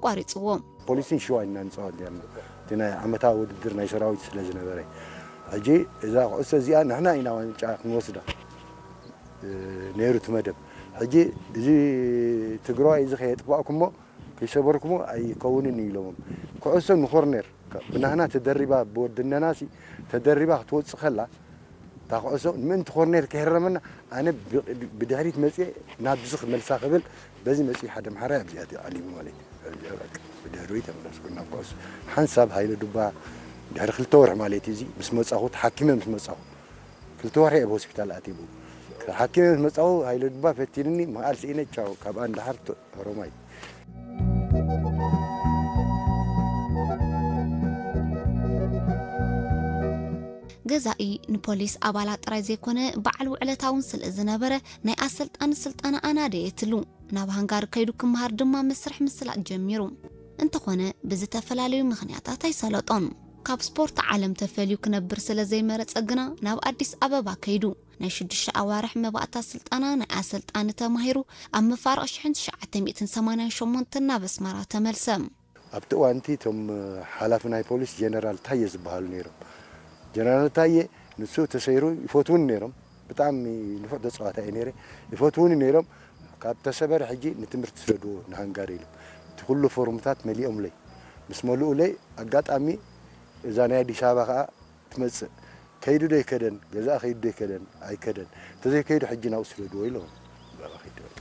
ኣቋሪፅዎ። ፖሊስን ሽዋ ኢና ንፃወት ነርና፣ እቲ ናይ ዓመታዊ ውድድር ናይ ሰራዊት ስለ ዝነበረ። ሕጂ እዛ ኩዕሶ እዚኣ ንሕና ኢና ዋንጫ ክንወስዳ ነይሩ እቲ መደብ። ሕጂ እዚ ትግራዋይ እዚ ከየጥፋእኩሞ ከይሰበርኩሞ ኣይከውንን እዩ ኢሎሞም። ኩዕሶ ንኮርኔር ብናህና ተደሪባ ብወድነናሲ ተደሪባ ክትወፅእ ከላ እታ ኩዕሶ ምእንቲ ኮርኔር ከይረመና ኣነ ብድሕሪት መፅየ ናብዚ ክመልሳ ክብል በዚ መፅዩ ሓደ ምሓራይ ኣብዚኣ ዓሊሙ ማለት እዩ። ብድሕሪኡ ተመለስኩ ናብ ኩዕሶ ሓንሳብ ሃይለ ዱባ ድሕሪ ክልተ ወርሒ ማለት እዩ። እዚ ምስ መፃኹ ተሓኪመ ምስ መፃኹ ክልተ ወርሒ ኣብ ሆስፒታል ኣትቡ ተሓኪመ ምስ መፃኹ ሃይለ ዱባ ፈቲንኒ መዓል ስኢነ ቻው ካብኣ ንደሓር ሮማይ። ገዛኢ ንፖሊስ ኣባላት ጥራይ ዘይኮነ በዓል ውዕለታ እውን ስለ ዝነበረ ናይ ኣሰልጣኒ ስልጠና ኣናደየትሉ። ናብ ሃንጋሪ ከይዱ ክመሃር ድማ መስርሕ ምስላጥ ጀሚሩ። እንተኾነ ብዝተፈላለዩ ምኽንያታት ኣይሰለጦን። ካብ ስፖርት ዓለም ተፈልዩ ክነብር ስለ ዘይመረጸ ግና ናብ ኣዲስ ኣበባ ከይዱ ናይ ሽዱሽተ ኣዋርሕ መባእታ ስልጠና ናይ ኣሰልጣኒ ተማሂሩ ኣብ መፋርቕ ሽሕን ትሽዓተ ሚእትን ሰማንያን ሸሞንተን ናብ ኣስመራ ተመልሰ። ኣብቲ እዋንቲ እቶም ሓላፊ ናይ ፖሊስ ጀነራል ታየ ዝበሃሉ ነይሮም። ጀነራል ታየ ንሱ ተሰይሩ ይፈትውኒ ነይሮም። ብጣዕሚ ንፉዕ ተፃዋታይ እየ ነይረ። ይፈትውኒ ነይሮም። ካብ ተሰበረ ሕጂ ንትምህርቲ ስደድዎ ንሃንጋሪ ኢሎም እቲ ኩሉ ፎርምታት መሊኦምለይ። ምስ መሉኡለይ ኣጋጣሚ እዛ ናይ ኣዲስ ኣበባ ከዓ ትመፅእ ከይዱ ዶ ይከደን ገዛእ ከይዱ ዶ ይከደን ኣይከደን እንተዘይከይዱ ሕጂ ናብኡ ስደድዎ ኢሎም። ብኣኻ ከይዱ በቃ።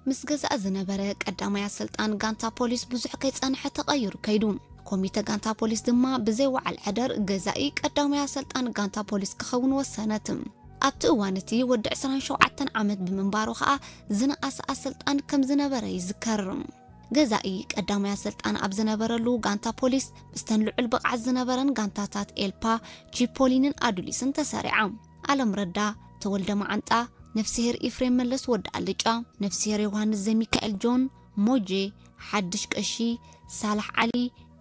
ምስ ገዛኢ ዝነበረ ቀዳማይ ኣሰልጣን ጋንታ ፖሊስ ብዙሕ ከይጸንሐ ተቐይሩ ከይዱ። ኮሚተ ጋንታ ፖሊስ ድማ ብዘይ ወዓል ዕደር ገዛኢ ቀዳማይ ኣሰልጣን ጋንታ ፖሊስ ክኸውን ወሰነት። ኣብቲ እዋን እቲ ወዲ ዕስራን ሸውዓተን ዓመት ብምንባሩ ኸኣ ዝነኣሰ ኣሰልጣን ከም ዝነበረ ይዝከር። ገዛኢ ቀዳማይ ኣሰልጣን ኣብ ዝነበረሉ ጋንታ ፖሊስ ምስተን ልዑል ብቕዓት ዝነበረን ጋንታታት ኤልፓ፣ ቺፖሊንን ኣዱሊስን ተሰሪዓ። ኣለም ረዳ፣ ተወልደ መዓንጣ፣ ነፍስሄር ኢፍሬም መለስ ወዲ ኣልጫ፣ ነፍስሄር ዮሃንስ ዘሚካኤል ጆን፣ ሞጄ፣ ሓድሽ ቀሺ፣ ሳላሕ ዓሊ፣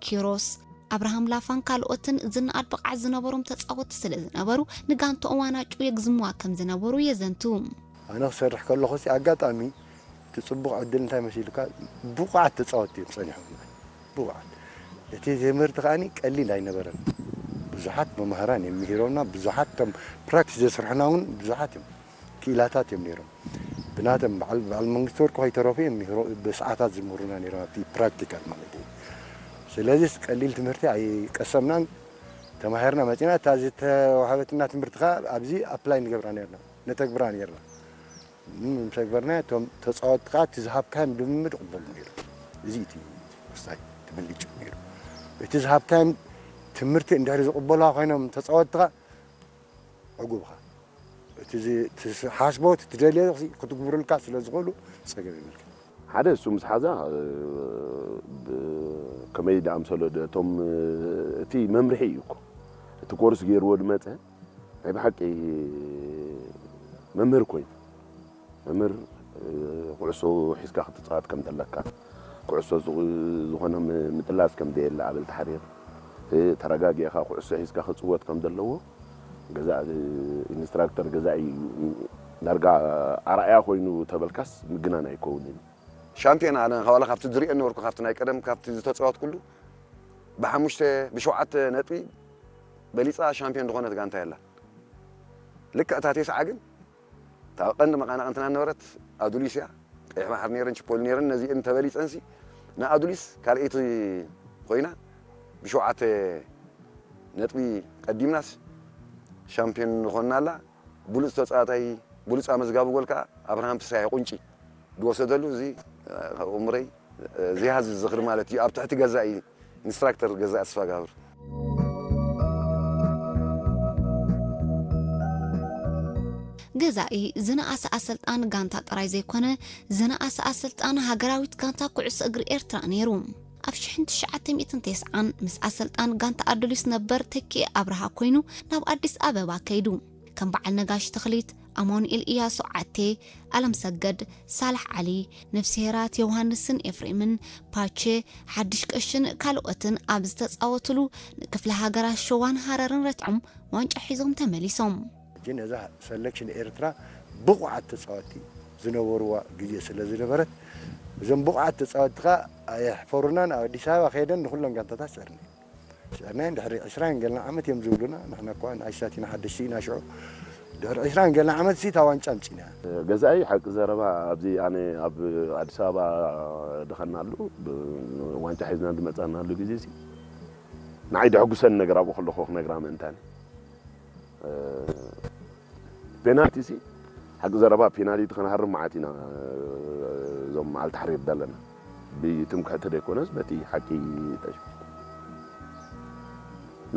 ኪሮስ፣ ኣብርሃም ላፋን ካልኦትን ዝነኣድ ብቕዓት ዝነበሮም ተጻወትቲ ስለ ዝነበሩ ንጋንትኦም ዋናጩ የግዝምዋ ከም ዝነበሩ የዘንቱ። ኣነ ክሰርሕ ከለኹ ሲ ኣጋጣሚ እቲ ፅቡቕ ዕድል እንታይ መሲሉካ ብቑዓት ተፃወትቲ እዮም ፀኒሖም ብቑዓት እቲ ትምህርቲ ከዓኒ ቀሊል ኣይነበረን ብዙሓት መማህራን እዮም ምሂሮምና ብዙሓት ቶም ፕራክቲስ ዘስርሑና እውን ብዙሓት እዮም ክኢላታት እዮም ነይሮም ብናቶም በዓል በዓል መንግስቲ ወርቁ ከይተረፉ እዮም ምሂሮ ብሰዓታት ዝምህሩና ነይሮም ኣብቲ ፕራክቲካል ማለት እዩ ስለዚስ ቀሊል ትምህርቲ ኣይቀሰምናን ተማሂርና መፂና እታ ዝተዋሃበትና ትምህርቲ ከዓ ኣብዚ ኣፕላይ ንገብራ ነርና ነተግብራ ነርና ምተግበርና እቶም ተፃወትቲ ከዓ እቲ ዝሃብካዮም ልምምድ ይቕበሉ ነይሩ እዚ እቲ ወሳኝ እቲ ብልጭ ነይሩ እቲ ዝሃብካዮም ትምህርቲ እንድሕሪ ዝቕበሉዋ ኮይኖም ተፃወትቲ ከዓ ዕጉብኻ እቲ ሓስቦ እቲ ትደልዮ ክትግብሩልካ ስለ ዝኽእሉ ፀገም የብልካ ሓደ እሱ ምስ ሓዛ ከመይ ዳኣምሰሎ እቶም እቲ መምርሒ እዩ እኮ እቲ ኮርስ ገይርዎ ድመፀ ናይ ብሓቂ መምህር ኮይኑ መምህር ኩዕሶ ሒዝካ ክትፃወት ከም ዘለካ ኩዕሶ ዝኾነ ምጥላስ ከም ዘየለ ኣበል ተሓሪር ተረጋጊእኻ ኩዕሶ ሒዝካ ክፅወት ከም ዘለዎ ገዛ ኢንስትራክተር ገዛ እዩ ዳርጋ ኣርኣያ ኮይኑ ተበልካስ ምግናን ኣይከውንን ሻምፒዮን ኣነ ዋላ ካብቲ ዝሪኦ ነበርኩ ካብቲ ናይ ቀደም ካብቲ ዝተፃወትኩሉ ብሓሙሽተ ብሸውዓተ ነጥቢ በሊፃ ሻምፒዮን ዝኾነት ጋንታ የላን ልክዕ እታ ቴስዓ ግን እታ ቀንዲ መቐናቕንትና ነበረት ኣዱሊስ እያ ቀይሕ ባሕሪ ነይረን ችፖሊ ነይረን ነዚአን ተበሊፀንሲ ንኣዱሊስ ካልኣይቲ ኮይና ብሸውዓተ ነጥቢ ቀዲምናስ ሻምፒዮን ንኾንና ኣላ ብሉፅ ተፃዋታይ ብሉፅ ኣመዝጋቢ ጎል ከዓ ኣብርሃም ፍስሃየ ቁንጪ ዝወሰደሉ እዚ ካብ እምረይ ዝያሃዝ ዝኽሪ ማለት እዩ ኣብ ትሕቲ ገዛኢ ኢንስትራክተር ገዛኢ ኣስፋጋብር ገዛኢ ዝነኣሰ ኣሰልጣን ጋንታ ጥራይ ዘይኮነ ዝነኣሰ ኣሰልጣን ሃገራዊት ጋንታ ኩዕሶ እግሪ ኤርትራ ነይሩ። ኣብ ሽሕን ትሽዓተ ሚእትን ተስዓን ምስ ኣሰልጣን ጋንታ ኣዱሊስ ነበር ተኪኤ ኣብርሃ ኮይኑ ናብ ኣዲስ ኣበባ ከይዱ። ከም በዓል ነጋሽ ተኽሊት፣ ኣማኑኤል እያሱ ዓቴ፣ ኣለም ሰገድ፣ ሳልሕ ዓሊ፣ ነፍስሄራት ዮውሃንስን ኤፍሬምን፣ ፓቼ፣ ሓድሽ ቀሽን ካልኦትን ኣብ ዝተጻወትሉ ንክፍለ ሃገራት ሸዋን ሃረርን ረትዖም ዋንጫ ሒዞም ተመሊሶም። ግን እዛ ሰለክሽን ኤርትራ ብቑዓት ተጻወትቲ ዝነበርዋ ግዜ ስለ ዝነበረት፣ እዞም ብቑዓት ተጻወትቲ ከኣ ኣየሕፈሩናን፣ ኣብ ኣዲስ ኣበባ ከይደን ንኹለን ጋንታታት ስዕርና። ስዕርናየን ድሕሪ ዕስራን ገለን ዓመት እዮም ዝብሉና። ንሕና እኳ ንኣሽታት ኢና፣ ሓደሽቲ ኢና ሽዑ። ድሕሪ ዕስራን ገለን ዓመት ሲ እታ ዋንጫ ኣምጺእና። ገዛኢ ሓቂ ዘረባ፣ ኣብዚ ኣነ ኣብ ኣዲስ ኣበባ ድኸናሉ፣ ብ-፣ ዋንጫ ሒዝና ዝመጻናሉ ግዜ ሲ ንዓይ ደሐጉሰኒ ነገር ኣብኡ ከለኹ ክነግራ ምእንታን። ፔናልቲ ሲ ሓቂ ዘረባ፣ ፔናልቲ ክንሃርም መዓት ኢና፣ እዞም ኣልታሕሪር ዘለና። ብትምክሕቲ ዘይኮነስ በቲ ሓቂ ተሽ-፣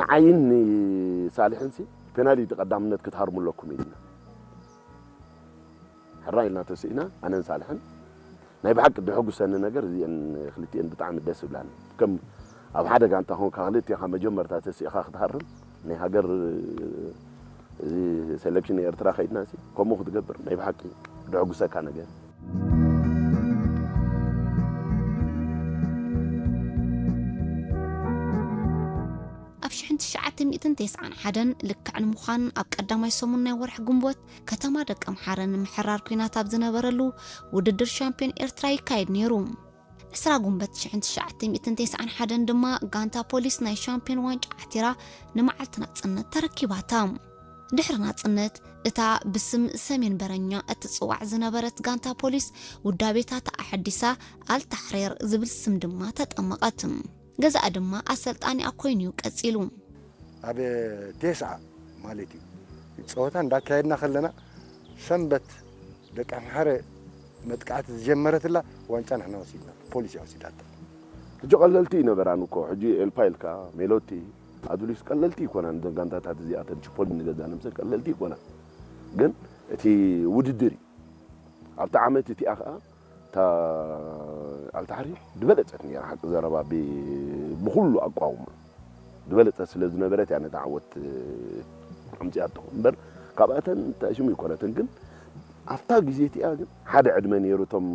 ንዓይን ንሳልሕን ሲ ፔናልቲ ቀዳምነት ክትሃርሙ ኣለኩም ኢልና። ሕራይ ኢልና ተስኢና፣ ኣነን ሳልሕን ናይ ብሓቂ ድሕጉሰኒ ነገር እዚአን ክልቲአን ብጣዕሚ ደስ ይብላኒ። ከም ኣብ ሓደ ጋንታ ኾንካ ክልቲኻ መጀመርታ ተስኢኻ ክትሃርም ናይ ሃገር፣ እዚ ሴሌክሽን ኤርትራ ከይድና ሲ ከምኡ ክትገብር ናይ ብሓቂ ድሕጉሰካ ነገር። ኣብ ሽሕን ትሽዓተ ሚእትን ተስዓን ሓደን ልክዕ ንምዃን ኣብ ቀዳማይ ሰሙን ናይ ወርሒ ግንቦት ከተማ ደቀምሓረ ንምሕራር ኲናት ኣብ ዝነበረሉ ውድድር ሻምፒዮን ኤርትራ ይካየድ ነይሩ። ዕስራ ግንቦት ሽሕን ትሽዓተ ሚእትን ተስዓን ሓደን ድማ ጋንታ ፖሊስ ናይ ሻምፒዮን ዋንጫ ዓቲራ ንመዓልቲ ናጽነት ተረኪባታ። ድሕሪ ናጽነት እታ ብስም ሰሜን በረኛ እትጽዋዕ ዝነበረት ጋንታ ፖሊስ ውዳቤታታ ኣሐዲሳ ኣልታሕሬር ዝብል ስም ድማ ተጠመቐት። ገዛእ ድማ ኣሰልጣኒኣ ኮይኑ'ዩ ቀጺሉ። ኣብ ቴስዓ ማለት እዩ ጸወታ እንዳካየድና ከለና ሰንበት ደቂ ኣምሓረ መጥቃዕቲ ዝጀመረትላ ዋንጫ ንሕና ወሲድና፣ ፖሊስ እያ ወሲዳታ። ሕጂ ቀለልቲ ይነበራን እኮ ሕጂ ኤልፓ ኢልካ ሜሎቲ ኣዱሊስ ቀለልቲ ይኮናን። እዘን ጋንታታት እዚኣተን ቺፖሊ ንገዛ ንምሰል ቀለልቲ ይኮናን፣ ግን እቲ ውድድር እዩ። ኣብቲ ዓመት እቲኣ ከዓ እታ ኣልታሕሪ ዝበለጸት ነይራ ሓቂ ዘረባ ብ-፣ ብኹሉ ኣቋውማ ዝበለጸት ስለ ዝነበረት እያ ነቲ ዓወት ኣምጺኣቶ እምበር ካብኣተን ተሽሙ ይኮነትን። ግን ኣብታ ግዜ እቲኣ ግን ሓደ ዕድመ ነይሩ እቶም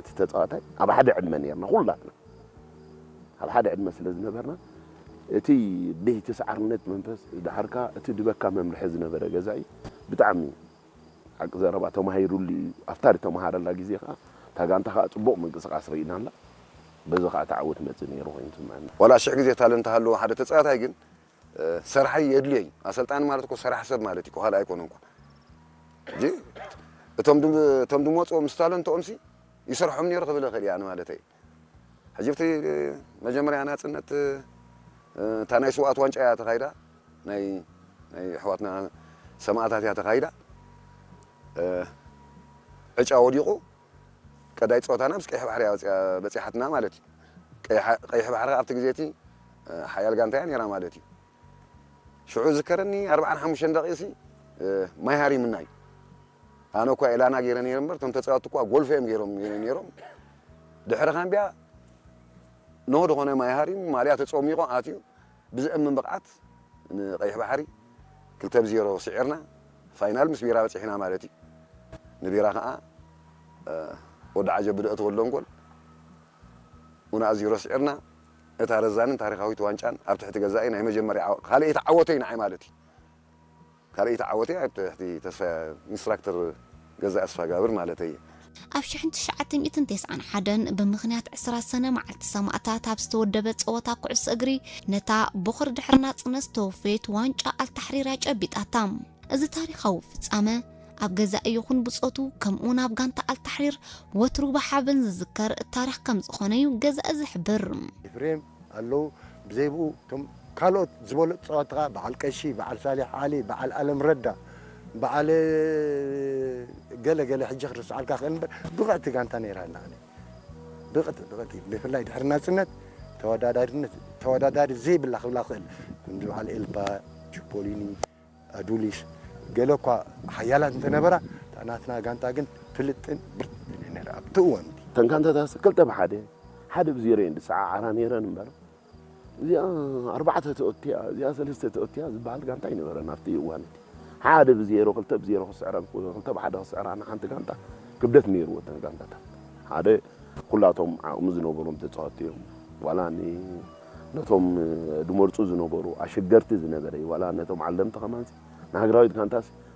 እቲ ተጻዋታይ ኣብ ሓደ ዕድመ ነይርና ኩላትና ኣብ ሓደ ዕድመ ስለ ዝነበርና እቲ ደይ ተስዓርነት መንፈስ ድሓርካ እቲ ድበካ መምርሒ ዝነበረ ገዛኢ ብጣዕሚ ሓቂ ዘረባ ተማሂሩሉ እዩ። ኣብታ ዝተምሃረላ ግዜ ከዓ እታ ጋንታ ከዓ ፅቡቕ ምንቅስቃስ ርኢናላ። በዚ ከዓ ተዓወት መፅእ ነይሩ ኮይኑ ትስምዐና። ዋላ ሽሕ ግዜ ታለንት ሃለዎ ሓደ ተፃዋታይ ግን እ፣ ሰርሓይ የድልዮ እዩ። ኣሰልጣኒ ማለት እኮ ሰራሕ ሰብ ማለት እዩ፣ ካልእ ኣይኮነን እኮ። ሕጂ እቶም ድም-፣ እቶም ድመፅዎ ምስ ታለንትኦም ሲ ይሰርሖም ነይሩ ክብል እኽእል እየ ኣነ ማለተይ። ሕጂ ኣብቲ መጀመርያ ናፅነት፣ እ፣ እታ ናይ ስውኣት ዋንጫ እያ ተኻይዳ፣ ናይ፣ ናይ ኣሕዋትና ሰማእታት እያ ተኻይዳ። እ፣ ዕጫ ወዲቑ ቀዳይ ፀወታና ምስ ቀይሕ ባሕሪ እያ ወፂኣ በፂሓትና ማለት እዩ። ቀይሕ፣ ቀይሕ ባሕሪ ኣብቲ ግዜ እቲ፣ እ፣ ሓያል ጋንታ እያ ነይራ ማለት እዩ። ሽዑ ዝከረኒ ኣርባዓን ሓሙሽተን ደቂቕሲ፣ እ፣ ማይ ሃሪምና እዩ። ኣነ እኳ ኤላና ገይረ ነይረ እምበር እቶም ተፃወትቲ እኳ ጎልፎ እዮም ገይሮም ነይሮም። ድሕሪ ካምቢያ ኖህ ዝኾነ ማይ ሃሪሙ ማልያ ተፀሚቑ ኣትዩ ብዘእምን ብቕዓት ንቐይሕ ባሕሪ ክልተ ብዜሮ ስዒርና ፋይናል ምስ ቢራ በፂሕና ማለት እዩ። ንቢራ ከዓ፣ እ፣ ወዲ ዓጀብ ብደእተወሎም ጎል ኡና ዜሮ ስዒርና። እታ ረዛንን ታሪኻዊት ዋንጫን ኣብ ትሕቲ ገዛኢ ናይ መጀመርያ ዓወ-፣ ካልኣይቲ ዓወተይ ንዓይ ማለት እዩ። ካልኣይቲ ዓወተይ ኣብ ትሕቲ ተስፋ ኢንስትራክተር ገዛኢ ኣስፋጋብር ማለተይ እየ። ኣብ ሽሕን ትሽዓተ ሚእትን ተስዓን ሓደን ብምኽንያት ዕስራ ሰነ መዓልቲ ሰማእታት ኣብ ዝተወደበ ጸወታ ኩዕሶ እግሪ ነታ ቦኽሪ ድሕሪ ናጽነት ዝተወፈየት ዋንጫ ኣልታሕሪር እያ ጨቢጣታ። እዚ ታሪኻዊ ፍጻመ ኣብ ገዛኢ ይኹን ብጾቱ ከምኡውን ኣብ ጋንታ ኣልታሕሪር ወትሩ ብሓበን ዝዝከር ታሪኽ ከም ዝኾነ እዩ ገዛኢ ዝሕብር። ኤፍሬም ኣለዉ። ብዘይ ብኡ እቶም ካልኦት ዝበለጹ ጸወትኻ በዓል ቀሺ፣ በዓል ሳሊሕ ዓሊ፣ በዓል ኣለም ረዳ፣ በዓል ገለ ገለ ሕጂ ክርስዓልካ ክእል እምበር ብቕዕቲ ጋንታ ነይራና። ኣነ ብቕዕቲ ብቕዕቲ ብፍላይ ድሕሪ ናጽነት ተወዳዳሪነት ተወዳዳሪ ዘይብላ ክብላ ክእል። ከምዚ በዓል ኤልባ፣ ቺፖሊኒ፣ ኣዱሊስ ገለ እኳ ሓያላት እንተነበራ እታ ናትና ጋንታ ግን ፍልጥን ብርትን እያ ነይራ ኣብቲ እዋን እቲ። እተን ጋንታታት ክልተ ብሓደ ሓደ ብዜሮ እየን ዝሰዓዓራ ነይረን እምበር እዚኣ ኣርባዕተ ተኦትያ እዚኣ ሰለስተ ተኦትያ ዝበሃል ጋንታ ኣይነበረን ኣብቲ እዋን እቲ። ሓደ ብዜሮ ክልተ ብዜሮ ክስዕረን ክልተ ብሓደ ክስዕራ ንሓንቲ ጋንታ ክብደት ነይርዎ እተን ጋንታታት ሓደ ኩላቶም ዓቕሚ ዝነበሮም ተፃወትቲ እዮም። ዋላ ኒ-፣ ነቶም ድመርፁ ዝነበሩ ኣሸገርቲ ዝነበረ እዩ። ዋላ ነቶም ዓለምቲ ከማንሲ ንሃገራዊት ጋንታስ